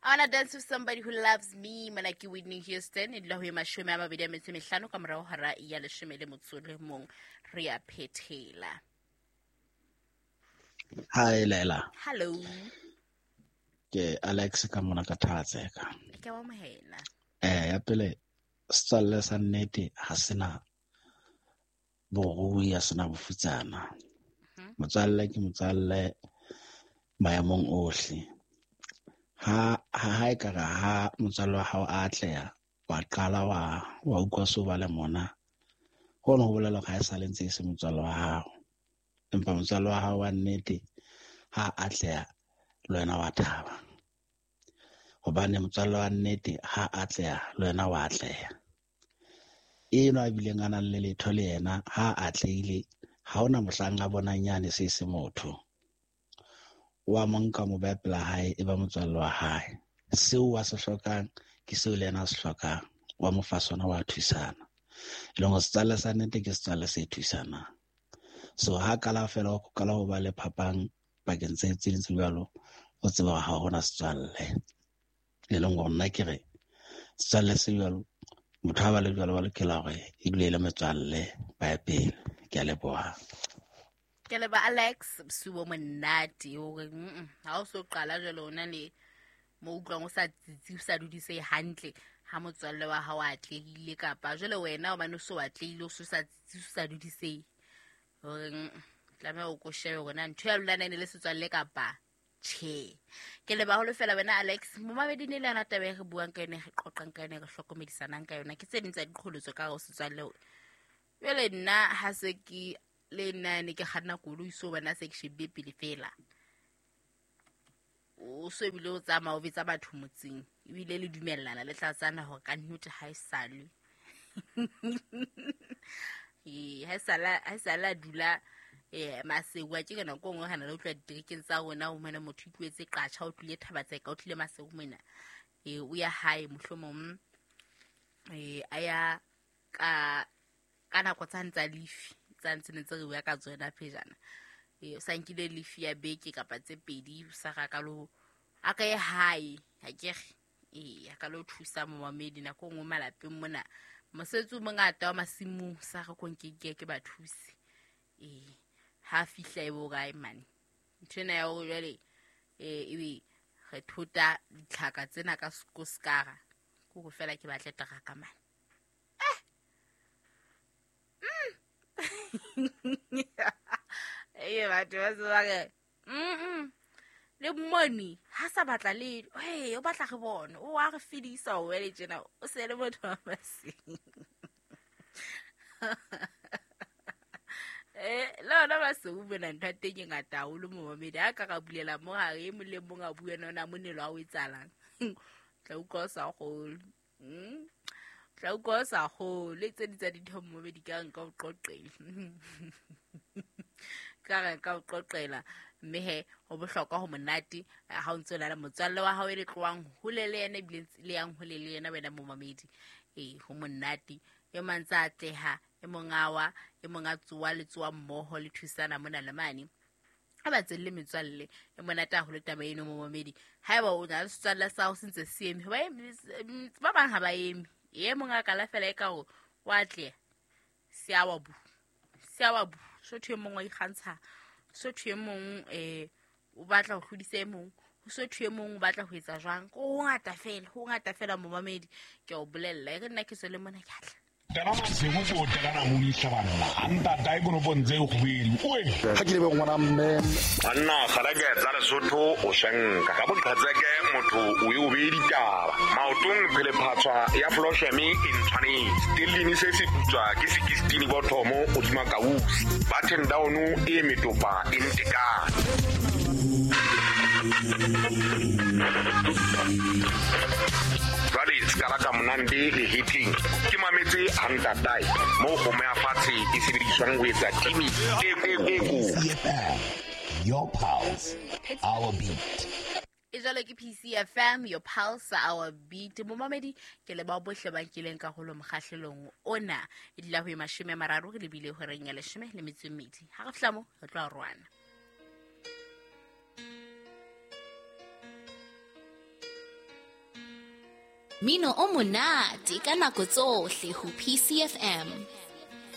I wanna dance with somebody who loves me. Mona ke Whitney Houston. E dula ho e 25 ka morao hora ya 11. Re a phethela. Hi Leila. Hello. Ke Alex ka mona ka Thatseka. Ke wa amohela. Ya pele setswalle sa nnete ha sena borui, ha sena bofutsana. Motswalle ke motswalle maemong ohle. Ha ha e ka re ha motswalle wa hao a atleha, wa qala wa utlwa so ba le mona, hono ho bolela hore ha e sale ntse e se motswalle wa hao. Empa motswalle wa hao wa nnete ha atleha, le wena wa thaba. Hobane motswalle wa nnete ha atleha, le wena wa atleha. Eno a bileng a nang le letho le yena ha atlehile, ha hona mohlang a bonang yane se se motho. Wa mo nka mo beha pela hae, e ba motswalle wa hae. Seo a se hlokang ke seo le yena a se hlokang. Wa mo fa sona, wa thusana. E leng hore setswalle sa nnete ke setswalle se thusanang. So ha kala fela ho qala ho ba le phapang pakeng tse tse ding tse jwalo, o tseba hore ha hona setswalle. E leng hore nna ke re setswalle se jwalo, motho ha ba le jwalo ba lokela hore e dule e le metswalle ba ye pele. Ke a leboha. Ke leba Alex, bosiu bo monate hore ha o so qala jwale o na le mo utlwang o sa tsitsi, o sa dudise hantle ha motswalle wa hao a atlehile, kapa jwale wena hobane o so atlehile o so sa tsitsi, o sa dudise hore tlameha o ko shebe hore na ntho ya lona e ne le setswalle kapa tjhe. Ke leba haholo fela wena Alex. Momamedi ne le yona taba e re buang ka yona, re qoqang ka yona, re hlokomedisanang ka yona. Ke tse ding tsa diqholotso ka hare ho setswalle. Jwale nna ha se ke le nna ne ke kganna koloi, so wena se ke shebile pele fela. O so ebile o tsamaya o betsa batho motseng, ebile le dumellana le tlatsana hore ka nnete ha e sale. Ee, ha e sale a dula Maseru. A ke ka nako e nngwe re na le utlwa diterekeng tsa rona, o mona motho o itlohetse Qatjha, o tlile Thabatseka, o tlile Maseru mona. O ya hae mohlomong, a ya ka nako tsane tsa lefi, tsa ntse ne tse re bua ka tsona pejana. O sa nkile lefi ya beke kapa tse pedi, o sa ra ka lo, a ka ye hae, ha ke re. A ka lo thusa momamedi nako e nngwe malapeng mona. Mosebetsi o mongata wa masimong, sa re ko nke ke ba thuse. Ha fihla e bo kae mane. Ntho ena ya hore jwale, ebe re thota ditlhaka tsena ka skoskara, ke hore fela ke batle teraka mane. Batho ba se ba re, Le mmoni ha sa batla le, hey, o batla re bone, o a re fedisa o wele tjena, o se le motho wa maseng. Le ona ba se o bona ntho ya teng e ngata haholo momamedi. Ha ka ra bulela mo hare, e mong le mong a bue nona monelo a o etsahalang. Tla utlwa o sa kgolwe. Tla utlwa o sa kgolwe. Tse ding tsa dintho momamedi ka nka o qoqela. Ka re nka o qoqela. Mme he, ho bohlokwa ho monate ha o ntse o na le motswalle wa hao e le tlohang hole le yena, ebile le yang hole le yena wena momamedi. Ho monate. E mang tsa atleha, e mong a wa, e mong a tsoa, le tsoa mmoho, le thusana mona le mane. Ha ba tselle metswalle, e monate haholo taba eno momamedi. Haeba o na le setswalle sa hao se ntse se eme, hoba ba bang ha ba eme. E mong a kala fela e ka hore o atleha, se a wa bu, se a wa bu. So thwe e mong wa ikgantsha, so thwe e mong, o batla ho hlodisa e mong, so thwe e mong o batla ho etsa jwang. Ko ho ngata fela, ho ngata fela momamedi. Ke a o bolella, e re nna ke tswele mona ke atla. Tena Maseru ko tena na modisa banna. A ntata e konopong tse kgwedi. Oe. Ha ke lebe ngwana mme. Banna kgaleke tsa Lesotho o shenka. Ka boqhetseke motho o e o beye ditaba. Maotong phele phatswa ya Flosheme e ntshwanetse. Stellini se se putswa ke 16 bothomo hodima kausi. Button down e metopa e ntekane. Jwale se ka la ka monande le hitting. Ke mametse ha ntatae moo kgomo ya fatshe e sebediswang ho etsa timi e ko. Your pulse, our beat. E jwalo ke PCFM, your pulse, our beat. Momamedi, ke le bao bohle ba nkileng karolo mokgahlelong ona. E dula ho e 30 re lebile horeng ya 12. Ha re fihla mo, re tlo arohana. Mino o monate ka nako tsohle ho PCFM.